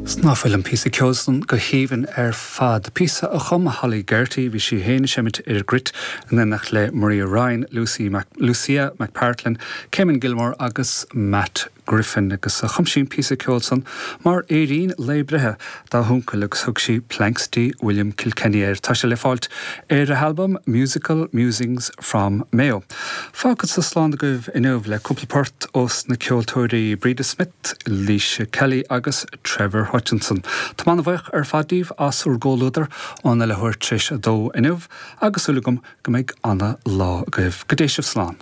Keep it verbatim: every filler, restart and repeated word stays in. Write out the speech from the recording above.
Ná fuil an píosa ceoil san go haoibhinn ar fad. Píosa a chum Holly Gerty bhí sí féin ag seimint ar gcruit in éineacht le Maria Ryan, Lucy Mac, Lucia McPartlin, Cayman Gilmore agus Matt Griffin agus a chum sí an píosa ceoil san mar fhéirín lae breithe dá huncail agus thug sí Planxty William Kilkenny air. Tá sé le fáilt ar a halbam Musical Musings from Mayo. Fágfadsa slán agaibh inniu le cúpla port ós na ceoltóirí Breda Smith, Laoise Kelly agus Trevor Hutchinson. Tá mé an-bhuíoch ar fad díbh as bhur gcomhluadar óna leathuair tar éis a dó inniu agus súil agam go mbeidh ana lá agaibh. Go dté sibh slán.